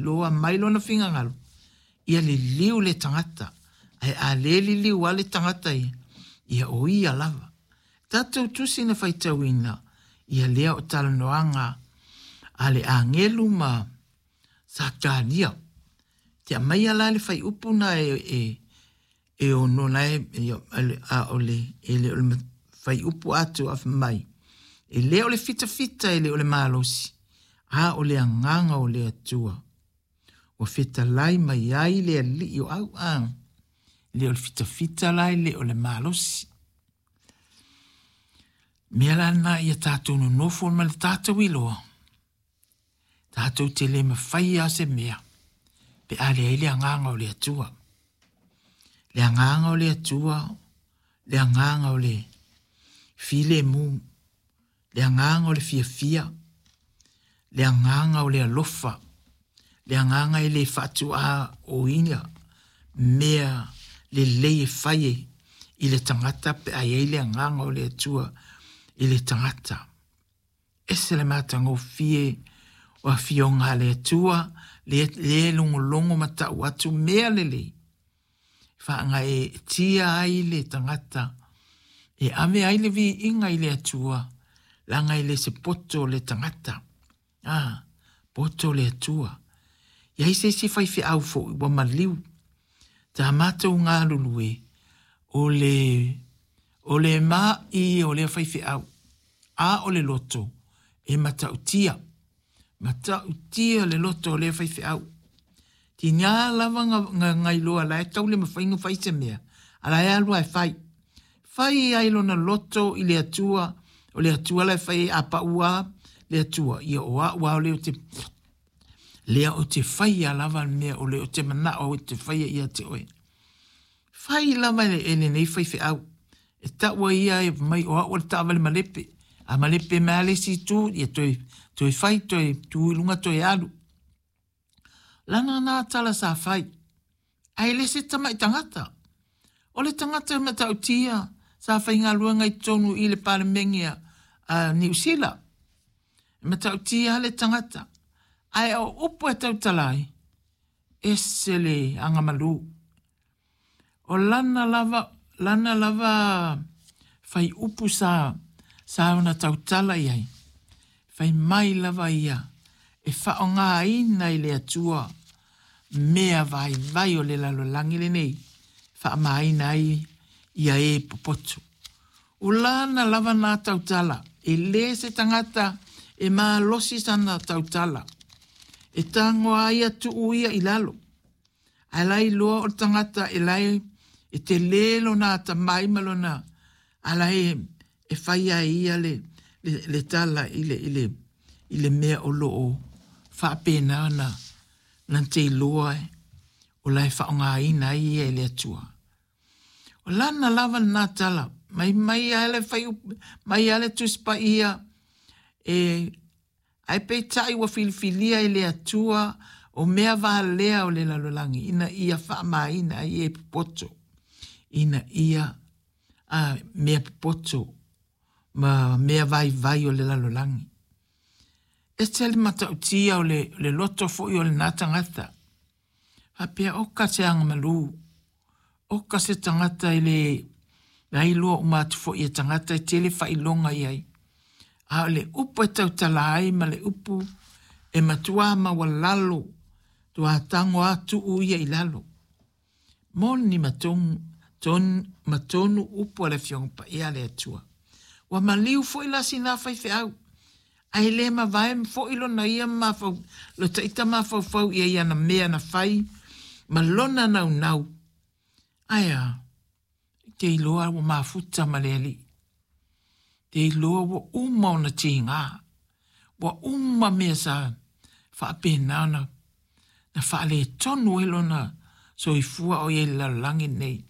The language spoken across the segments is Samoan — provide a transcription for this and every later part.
iloa mai lona fingagalo, ia liliu le tagata, ae a le liliu a le tagata ia, ia o ia lava. Tatou tusi na faitauina, ia lea o talanoaga a le agelu ma Sakaria. Te aumaia la le fuaiupu na e ono la e, a o le, e le o le fuaiupu atoa fai mai, e le o le fitafita, e le o le malosi, a o le agaga o le Atua. Ua fetalai mai ai le alii o au, a le o le fitafita la e le o le malosi. Mea la na ia tātou nonofo ma le tātou iloa, tātou te le mawhai a se mea, pe a leai le agaga o le Atua. Le agaga o le Atua, le agaga o le filemu, le agaga o le fiafia, le agaga o le alofa, le agaga e le faatuā o ia mea lelei e fai e i le tagata pe a i ai le agaga o le Atua i le tagata. Ese le matagofie o afioga a le Atua, le, le logologo ma tau atu mea lelei. Faagaeetia ai le tagata e ave ai le viiga i le Atua, leaga e le se poto le tagata. A, poto le Atua. I ai se isi faifeau foi ua maliu. Tā mātou galulue, o le, o le ma'i o lea faifeau, a o le loto, e matautia. Matautia le loto o lea faifeau. Tiga lava nga, nga iloa la e tau le mawhai nga fai se mea, a la e alu e fai. Fai ai lona loto i le Atua, o le Atua la e fai a paua le Atua, ia o au a o le o te lea o te faia lava le mea o le o te manao o te faia ia te oe. Fai lava e lenei faifeau. E taua ia e mai o au o le taavale malepe. A malepe mai le isi itu, ia toe, toe fai, toe tu i luga, toe alu. Lana nā tala sa fai. Ae le se tama'i tagata. O le tagata e matautia sa faigaluega i totonu i le Palemene a Niu Sila. E matautia le tagata. Ae o upu e tautala ai, ese le agamalu. O lana lava, lana lava faiupu sa, sa ona tautala i ai. Fai mai lava ia, e faaaogaina i le Atua mea vaivai o le lalolagi lenei, faamaina ai ia e popoto. O lana lava nā tautala, e le se tagata e malosi sana tautala. E tagoa ai tuu ia i lalo. Ae la iloa o le tagata e lae e tele lona atamai ma lona a lae e fai ai ia le, le, le tala i le, i le, i le mea o loo faapena ona na te iloa e o la e faaaogaina ai ia e le Atua. O lana lava lena tala, mai mai a le fai mai a le Tusi Paia e Ae peitai ua filifilia e le Atua o mea valea o le lalolagi ina ia faamaina ai e popoto, ina ia a mea popoto ma mea vaivai o le lalolagi. Ese le matautia o le, le loto foi o lena tagata. Faapea oka se agamalu, oka se tagata e le la iloa uma atu foi e tagata e tele faailoga i ai. A o le upu e tautala ai ma le upu e matua maualalo, tua tago a tuu ia i lalo. Moni ma tonu, ton, ma tonu upu a le Afioga Paia a le Atua. Ua maliu foi la sina faifeau, ae le mavae foi lona ia mafau, lo taita mafaufau ia i ana mea na fai ma lona naunau. Ae a, te iloa ua mafuta ma le Alii. Te iloa ua uma ona tiga. Ua uma mea sa faapena ona na faaletonu ai lona soifua o i ai i le lalolagi lenei.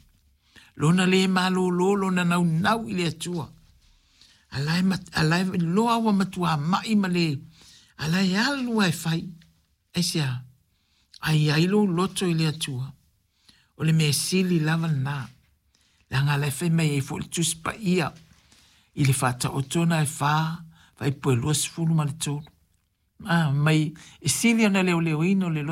Lona le malōlō, lona naunau i le Atua. A la e, a la e iloa ua matua ma'i ma le, a la e alu lava e fai. Aisea? A i ai lou loto i le Atua. O le mea sili lava lena. Leaga la e fai mai ai foi le Tusi Paia i le Faataoto na e 4, fuaiupu e 23. A, mai e sili ona leoleoina o le loto.